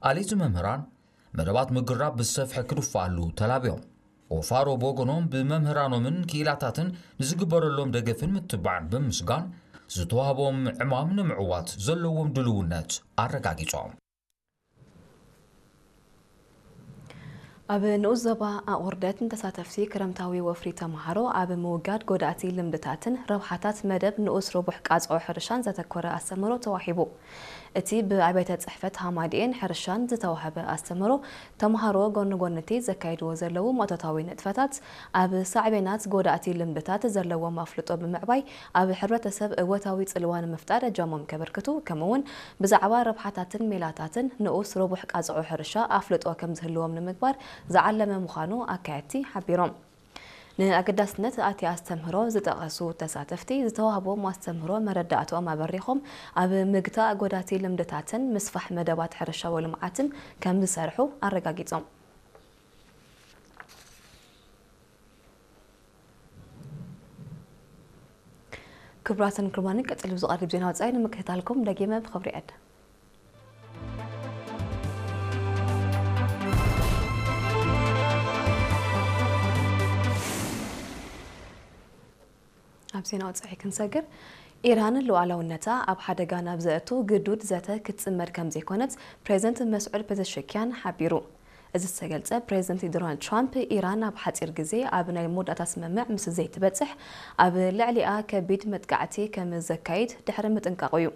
ኣልሂቲ መምህራን መደባት ምግራብ ብሰፍሐ ክድፋኣሉ ተላብዮም። ኦፋሮ ብወገኖም ብመምህራኖምን ክኢላታትን ንዝግበረሎም ደገፍን ምትባዕን ብምስጋን ዝተዋህቦም ዕማም ንምዕዋት ዘለዎም ድልውነት ኣረጋጊጾም። ኣብ ንኡስ ዞባ ኣቑርደት ንተሳተፍቲ ክረምታዊ ወፍሪ ተምሃሮ ኣብ ምውጋድ ጎዳእቲ ልምድታትን ረብሓታት መደብ ንኡስ ረቡሕ ቃጽዖ ሕርሻን ዘተኮረ ኣስተምህሮ ተዋሂቡ። እቲ ብኣብያተ ጽሕፈት ሃማድኤን ሕርሻን ዝተዋህበ ኣስተምህሮ፣ ተምሃሮ ጎኒ ጎኒ እቲ ዘካይድዎ ዘለዉ ማእቶታዊ ንጥፈታት ኣብ ሳዕቤናት ጎዳእቲ ልምድታት ዘለዎም ኣፍልጦ ብምዕባይ ኣብ ሕብረተሰብ እወታዊ ጽልዋ ንምፍጣር እጃሞም ከበርክቱ፣ ከምኡ'ውን ብዛዕባ ረብሓታትን ሜላታትን ንኡስ ረቡሕ ቃጽዖ ሕርሻ ኣፍልጦ ከም ዝህልዎም ንምግባር ዝዓለመ ምዃኑ ኣካየድቲ ሓቢሮም። ንኣገዳስነት ኣቲ ኣስተምህሮ ዝጠቐሱ ተሳተፍቲ፣ ዝተዋህቦም ኣስተምህሮ መረዳእትኦም ኣበሪኾም፣ ኣብ ምግታእ ጎዳቲ ልምድታትን ምስፋሕ መደባት ሕርሻዊ ልምዓትን ከም ዝሰርሑ ኣረጋጊጾም። ክቡራትን ክቡራንን፣ ቀጺሉ ዝቐርብ ዜና ወጻኢ ንምክትታልኩም ደጊመ ብኽብሪ ዕድ። ኣብ ዜና ወጻኢ ክንሰግር፣ ኢራን ሉዓላውነታ ኣብ ሓደጋ ናብ ዘእቱ ግዱድ ዘተ ክትጽመድ ከም ዘይኮነት ፕሬዚደንት መስዑድ ፔዘሽኪያን ሓቢሩ። እዚ ዝተገልጸ ፕሬዚደንት ዶናልድ ትራምፕ፣ ኢራን ኣብ ሓጺር ግዜ ኣብ ናይ መወዳእታ ስምምዕ ምስ ዘይትበጽሕ ኣብ ልዕሊኣ ከቢድ መጥቃዕቲ ከም ዘካይድ ድሕሪ ምጥንቃቑ'ዩ።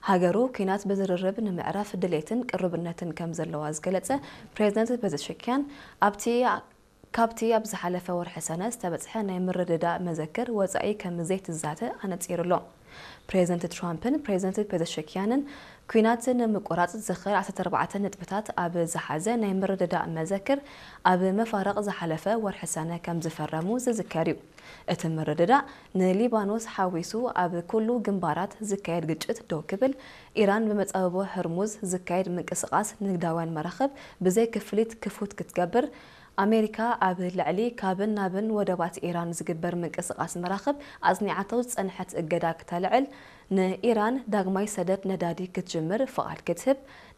ሃገሩ ኲናት ብዝርርብ ንምዕራፍ ድሌትን ቅሩብነትን ከም ዘለዋ ዝገለጸ ፕሬዚደንት ፔዘሽኪያን፣ ኣብቲ ካብቲ ኣብ ዝሓለፈ ወርሒ ሰነ ዝተበጽሐ ናይ ምርድዳእ መዘክር ወጻኢ ከም ዘይትዛተ ኣነጺሩ ኣሎ። ፕሬዚደንት ትራምፕን ፕሬዚደንት ፔዘሽኪያንን ኲናት ንምቁራጽ ዝኽእል ዓሰርተ ኣርባዕተ ነጥብታት ኣብ ዝሓዘ ናይ ምርድዳእ መዘክር ኣብ መፋርቕ ዝሓለፈ ወርሒ ሰነ ከም ዝፈረሙ ዝዝከር እዩ። እቲ ምርድዳእ ንሊባኖስ ሓዊሱ ኣብ ኩሉ ግንባራት ዝካየድ ግጭት ደው ክብል፣ ኢራን ብመጻብቦ ህርሙዝ ዝካየድ ምንቅስቓስ ንግዳውያን መራኽብ ብዘይ ክፍሊት ክፉት ክትገብር፣ ኣሜሪካ ኣብ ልዕሊ ካብን ናብን ወደባት ኢራን ዝግበር ምንቅስቓስ መራኽብ ኣጽኒዓቶ ዝጸንሐት እገዳ ክተልዕል፣ ንኢራን ዳግማይ ሰደድ ነዳዲ ክትጅምር ፍቓድ ክትህብ፣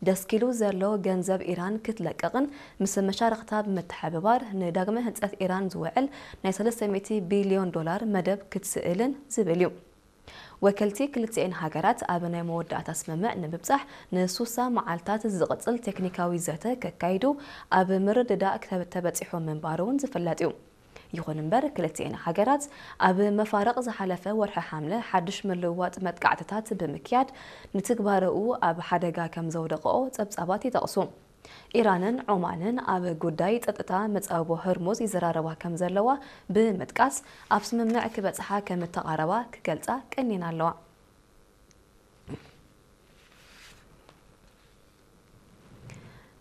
ደስኪሉ ዘሎ ገንዘብ ኢራን ክትለቅቕን ምስ መሻርኽታ ብምትሕብባር ንዳግመ ህንጸት ኢራን ዝውዕል ናይ ሰለስተ ሚእቲ ቢልዮን ዶላር መደብ ክትስእልን ዝብል እዩ። ወከልቲ ክልቲኤን ሃገራት ኣብ ናይ መወዳእታ ስምምዕ ንምብጻሕ ንሱሳ መዓልታት ዝቕጽል ቴክኒካዊ ዘተ ከካይዱ ኣብ ምርድዳእ ክተ-፣ ተበጺሑ ምንባሩ እውን ዝፍለጥ እዩ። ይኹን እምበር፣ ክልቲኤን ሃገራት ኣብ መፋርቕ ዝሓለፈ ወርሒ ሓምለ ሓድሽ ምልውዋጥ መጥቃዕትታት ብምክያድ ንትግባረኡ ኣብ ሓደጋ ከም ዘውደቕኦ ጸብጻባት ይጠቕሱ። ኢራንን ዖማንን ኣብ ጉዳይ ጸጥታ መጻብቦ ህርሙዝ ይዘራረባ ከም ዘለዋ ብምጥቃስ፣ ኣብ ስምምዕ ክበጽሓ ከም እተቓረባ ክገልጻ ቀኒና ኣለዋ።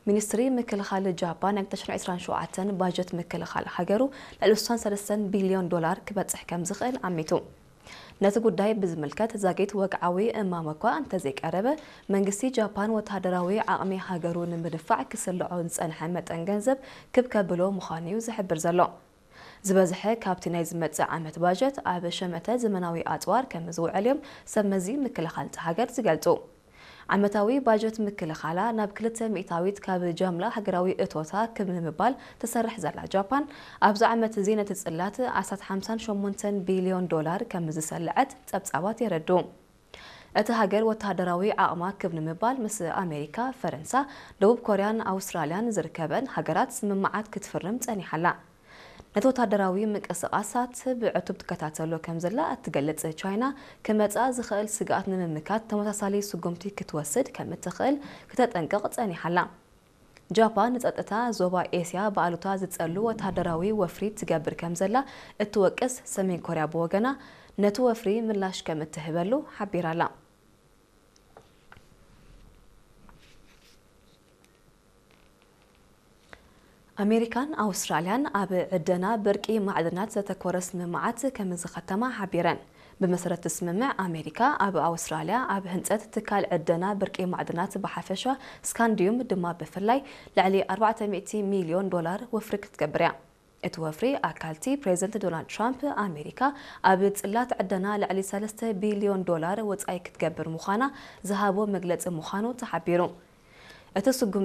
ሚኒስትሪ ምክልኻል ጃፓን ናይ ክልተ ሽሕን ዕስራን ሸውዓተን ባጀት ምክልኻል ሃገሩ ልዕሊ ስሳን ሰለስተን ቢልዮን ዶላር ክበጽሕ ከም ዝኽእል ኣሚቱ። ነቲ ጉዳይ ብዝምልከት ዛጊት ወግዓዊ እማመ እኳ እንተዘይቀረበ፣ መንግስቲ ጃፓን ወተሃደራዊ ዓቕሚ ሃገሩ ንምድፋዕ ክስልዖ ዝጸንሐ መጠን ገንዘብ ክብ ከብሎ ምዃኑ እዩ ዝሕብር ዘሎ። ዝበዝሐ ካብቲ ናይ ዝመጽእ ዓመት ባጀት ኣብ ሸመተ ዘመናዊ ኣጽዋር ከም ዝውዕል እዮም ሰብ መዚ ምክልኻል እቲ ሃገር ዝገልጹ። ዓመታዊ ባጀት ምክልኻላ ናብ ክልተ ሚእታዊት ካብ ጃምላ ሃገራዊ እቶታ ክብ ንምባል ትሰርሕ ዘላ ጃፓን፣ ኣብዚ ዓመት እዚ ነቲ ጽላት ኣስታት ሓምሳን ሸሞንተን ቢልዮን ዶላር ከም ዝሰልዐት ጸብጻባት የረድኡ። እቲ ሃገር ወተሃደራዊ ዓቕማ ክብ ንምባል ምስ ኣሜሪካ፣ ፈረንሳ፣ ደቡብ ኮርያን ኣውስትራልያን ዝርከበን ሃገራት ስምምዓት ክትፍርም ጸኒሓ ኣላ። ነቲ ወተሃደራዊ ምንቅስቓሳት ብዕቱብ ትከታተሎ ከም ዘላ እትገልጽ ቻይና፣ ክመጻ ዝኽእል ስግኣት ንምምካት ተመሳሳሊ ስጉምቲ ክትወስድ ከም እትኽእል ክተጠንቅቕ ጸኒሓ ኣላ። ጃፓን ንጸጥታ ዞባ ኤስያ ብኣሉታ ዝጸሉ ወተሃደራዊ ወፍሪ ትገብር ከም ዘላ እትወቅስ ሰሜን ኮርያ ብወገና፣ ነቲ ወፍሪ ምላሽ ከም እትህበሉ ሓቢራ ኣላ። ኣሜሪካን ኣውስትራልያን ኣብ ዕደና ብርቂ ማዕድናት ዘተኮረ ስምምዓት ከም ዝኸተማ ሓቢረን። ብመሰረት እቲ ስምምዕ፣ ኣሜሪካ ኣብ ኣውስትራልያ ኣብ ህንጸት ትካል ዕደና ብርቂ ማዕድናት ብሓፈሻ፣ ስካንዲዩም ድማ ብፍላይ፣ ልዕሊ ኣርባዕተ ሚእቲ ሚልዮን ዶላር ወፍሪ ክትገብር እያ። እቲ ወፍሪ ኣካልቲ ፕሬዚደንት ዶናልድ ትራምፕ፣ ኣሜሪካ ኣብ ጽላት ዕደና ልዕሊ ሰለስተ ቢልዮን ዶላር ወጻኢ ክትገብር ምዃና ዝሃቦ መግለጺ ምዃኑ ተሓቢሩ። እቲ ስጉም